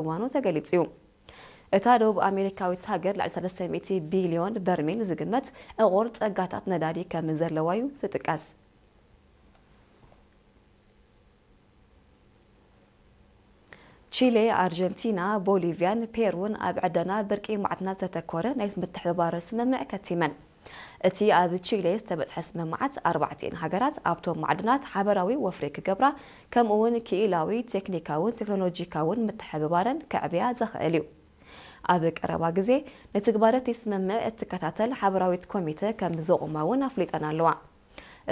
ምዃኑ ተገሊጹ እዩ። እታ ደቡብ ኣሜሪካዊት ሃገር ልዕሊ ሰለስተ ሚእቲ ቢልዮን በርሚል ዝግመት ዕቑር ጸጋታት ነዳዲ ከም ዘለዋ እዩ ዝጥቀስ። ቺሌ፣ ኣርጀንቲና፣ ቦሊቪያን ፔሩን ኣብ ዕደና ብርቂ ማዕድናት ዘተኮረ ናይ ምትሕብባር ስምምዕ ከቲመን። እቲ ኣብ ቺሌ ዝተበጽሐ ስምምዓት፣ ኣርባዕቲኤን ሃገራት ኣብቶም ማዕድናት ሓበራዊ ወፍሪ ክገብራ፣ ከምኡውን ክኢላዊ፣ ቴክኒካውን ቴክኖሎጂካውን ምትሕብባረን ከዕብያ ዘኽእል እዩ። ኣብ ቀረባ ግዜ ንትግባረ እቲ ስምምዕ እትከታተል ሓበራዊት ኮሚተ ከም ዘቑማ እውን ኣፍሊጠን ኣለዋ።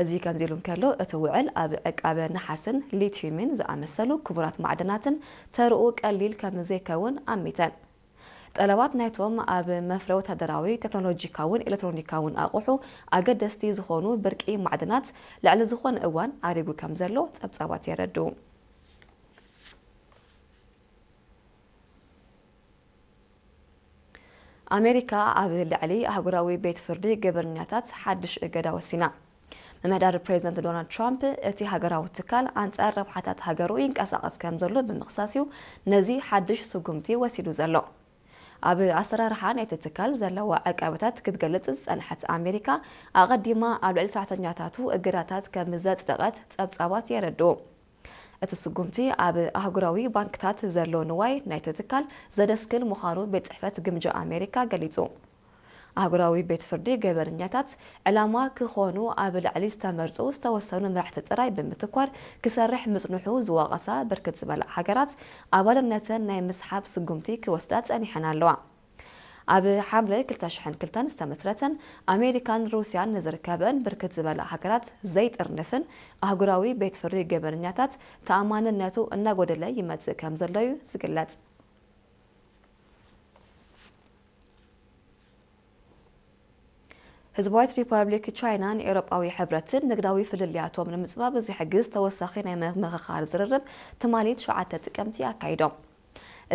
እዚ ከምዚ ኢሉ እንከሎ፣ እቲ ውዕል ኣብ ዕቃበ ነሓስን ሊትዩምን ዝኣመሰሉ ክቡራት ማዕድናትን ተርኡ ቀሊል ከም ዘይከውን ኣሚተን። ጠለባት ናይቶም ኣብ መፍረ ወታደራዊ፣ ቴክኖሎጂካውን ኤሌክትሮኒካውን ኣቑሑ ኣገደስቲ ዝኾኑ ብርቂ ማዕድናት ልዕሊ ዝኾነ እዋን ዓሪጉ ከም ዘሎ ጸብጻባት የረድኡ። ኣሜሪካ ኣብ ልዕሊ ኣህጉራዊ ቤት ፍርዲ ገበነኛታት ሓድሽ እገዳ ወሲና። ምምሕዳር ፕሬዚደንት ዶናልድ ትራምፕ፣ እቲ ሃገራዊ ትካል ኣንጻር ረብሓታት ሃገሩ ይንቀሳቐስ ከም ዘሎ ብምኽሳስ እዩ ነዚ ሓድሽ ስጉምቲ ወሲዱ ዘሎ። ኣብ ኣሰራርሓ ናይቲ ትካል ዘለዋ ዕቃበታት ክትገልጽ ዝጸንሐት ኣሜሪካ፣ ኣቐዲማ ኣብ ልዕሊ ሰራሕተኛታቱ እገዳታት ከም ዘጽደቐት ጸብጻባት የረድኡ። እቲ ስጉምቲ ኣብ ኣህጉራዊ ባንክታት ዘሎ ንዋይ ናይቲ ትካል ዘደስክል ምዃኑ ቤት ጽሕፈት ግምጃ ኣሜሪካ ገሊጹ። ኣህጉራዊ ቤት ፍርዲ ገበነኛታት ዕላማ ክኾኑ ኣብ ልዕሊ ዝተመርጹ ዝተወሰኑ መራሕቲ ጥራይ ብምትኳር ክሰርሕ ምጽንሑ ዝወቐሳ ብርክት ዝበላ ሃገራት፣ ኣባልነተን ናይ ምስሓብ ስጉምቲ ክወስዳ ጸኒሐን ኣለዋ። ኣብ ሓምለ ክልተ ሽሕን ክልተን ዝተመስረተን ኣሜሪካን ሩስያን ንዝርከበን ብርክት ዝበላ ሃገራት ዘይጥርንፍን ኣህጉራዊ ቤት ፍርዲ ገበነኛታት ተኣማንነቱ እናጎደለ ይመጽእ ከም ዘሎ እዩ ዝግለጽ። ህዝባዊት ሪፓብሊክ ቻይናን ኤውሮጳዊ ሕብረትን ንግዳዊ ፍልልያቶም ንምጽባብ ዝሕግዝ ተወሳኺ ናይ ምምኽኻር ዝርርብ ትማሊ ትሽዓተ ጥቅምቲ ኣካይዶም።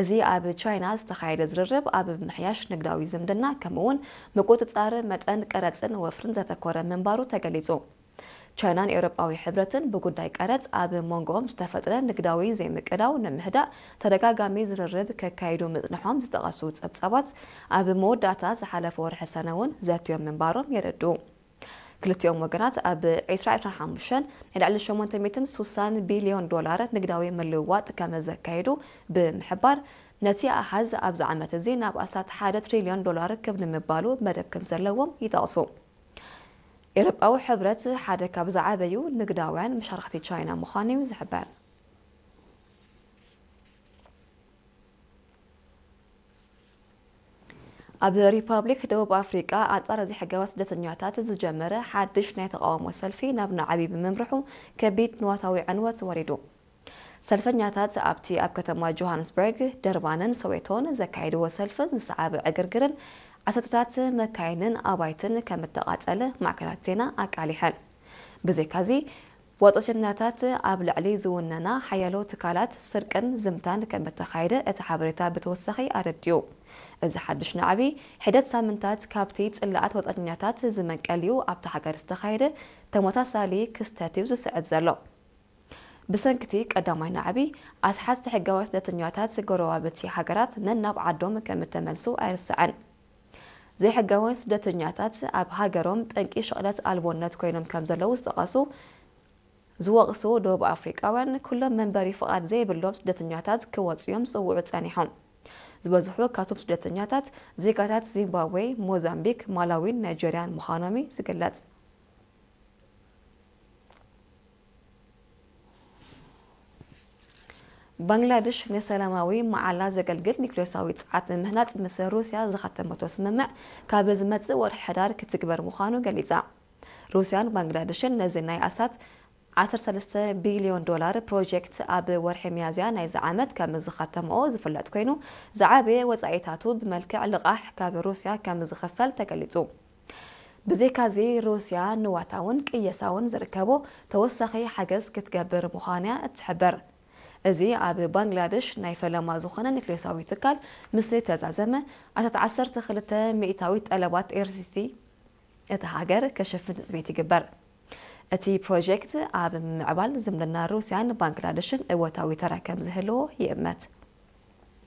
እዚ ኣብ ቻይና ዝተኻየደ ዝርርብ፣ ኣብ ምምሕያሽ ንግዳዊ ዝምድና፣ ከምኡውን ምቁጽጻር መጠን ቀረጽን ወፍርን ዘተኮረ ምንባሩ ተገሊጹ። ቻይናን ኤውሮጳዊ ሕብረትን ብጉዳይ ቀረጽ ኣብ መንጎኦም ዝተፈጥረ ንግዳዊ ዘይምቅዳው ንምህዳእ ተደጋጋሚ ዝርርብ ከካይዱ ምጽንሖም ዝጠቐሱ ጸብጻባት፣ ኣብ መወዳእታ ዝሓለፈ ወርሒ ሰነ እውን ዘትዮም ምንባሮም የረድኡ። ክልቲኦም ወገናት ኣብ ዕስራ ዕስራን ሓሙሽተን ናይ ልዕሊ ሸሞንተ ሚእትን ሱሳን ቢልዮን ዶላር ንግዳዊ ምልውዋጥ ከም ዘካየዱ ብምሕባር፣ ነቲ ኣሃዝ ኣብዚ ዓመት እዚ ናብ ኣስታት ሓደ ትሪልዮን ዶላር ክብ ንምባሉ መደብ ከም ዘለዎም ይጠቕሱ። ኤውሮጳዊ ሕብረት ሓደ ካብ ዝዓበዩ ንግዳውያን መሻርኽቲ ቻይና ምዃኑ እዩ ዝሕበር። ኣብ ሪፓብሊክ ደቡብ ኣፍሪቃ ኣንጻር ዘይሕጋውያን ስደተኛታት ዝጀመረ ሓድሽ ናይ ተቓውሞ ሰልፊ ናብ ናዕቢ ብምምርሑ ከቢድ ንዋታዊ ዕንወት ወሪዱ። ሰልፈኛታት ኣብቲ ኣብ ከተማ ጆሃንስበርግ፣ ደርባንን ሶዌቶን ዘካየድዎ ሰልፍን ዝሰዓበ ዕግርግርን ዓሰርተታት መካይንን ኣባይትን ከም እተቓጸለ ማዕከናት ዜና ኣቃሊሐን። ብዘይካዚ፣ ወጻእተኛታት ኣብ ልዕሊ ዝውነና ሓያሎ ትካላት ስርቅን ዝምታን ከም እተኻየደ እቲ ሓበሬታ ብተወሳኺ ኣረዲኡ። እዚ ሓድሽ ናዕቢ፣ ሒደት ሳምንታት ካብቲ ጽላኣት ወጻእተኛታት ዝመንቀል እዩ ኣብታ ሃገር ዝተኻየደ ተመሳሳሊ ክስተት እዩ ዝስዕብ ዘሎ። ብሰንክቲ ቀዳማይ ናዕቢ፣ ኣስሓት ዘይሕጋውያን ስደተኛታት ጎረባብቲ ሃገራት ነናብ ዓዶም ከም እተመልሱ ኣይርሳዕን። ዘይሕጋውያን ስደተኛታት ኣብ ሃገሮም ጠንቂ ሽቕለት ኣልቦነት ኮይኖም ከም ዘለዉ ዝጠቐሱ፣ ዝወቕሱ ደቡብ ኣፍሪቃውያን፣ ኩሎም መንበሪ ፍቓድ ዘይብሎም ስደተኛታት ክወጹ እዮም ዝጽውዑ ጸኒሖም። ዝበዝሑ ካብቶም ስደተኛታት ዜጋታት ዚምባብዌ፣ ሞዛምቢክ፣ ማላዊን ናይጀርያን ምዃኖም እዩ ዝግለጽ። ባንግላደሽ ንሰላማዊ መዓላ ዘገልግል ኒውክሌሳዊ ጸዓት ንምህናጽ ምስ ሩስያ ዝኸተመቶ ስምምዕ፣ ካብ ዝመጽእ ወርሒ ሕዳር ክትግበር ምዃኑ ገሊጻ። ሩስያን ባንግላደሽን ነዚ ናይ ኣስታት ዓሰርተ ሰለስተ ቢልዮን ዶላር ፕሮጀክት ኣብ ወርሒ ሚያዝያ ናይዚ ዓመት ከም ዝኸተምኦ ዝፍለጥ ኮይኑ፣ ዝዓበየ ወጻኢታቱ ብመልክዕ ልቓሕ ካብ ሩስያ ከም ዝኽፈል ተገሊጹ። ብዘይካዚ፣ ሩስያ ንዋታውን ቅየሳውን ዝርከቦ ተወሳኺ ሓገዝ ክትገብር ምዃና እትሕብር። እዚ ኣብ ባንግላደሽ ናይ ፈለማ ዝኾነ ኒውክሌሳዊ ትካል ምስ ተዛዘመ፣ ኣስታት ዓሰርተ ክልተ ሚእታዊት ጠለባት ኤርሲቲ እታ ሃገር ከሸፍን ትጽቢት ይግበር። እቲ ፕሮጀክት ኣብ ምምዕባል ዝምድና ሩስያን ባንግላደሽን እወታዊ ተራ ከም ዝህልዎ ይእመት።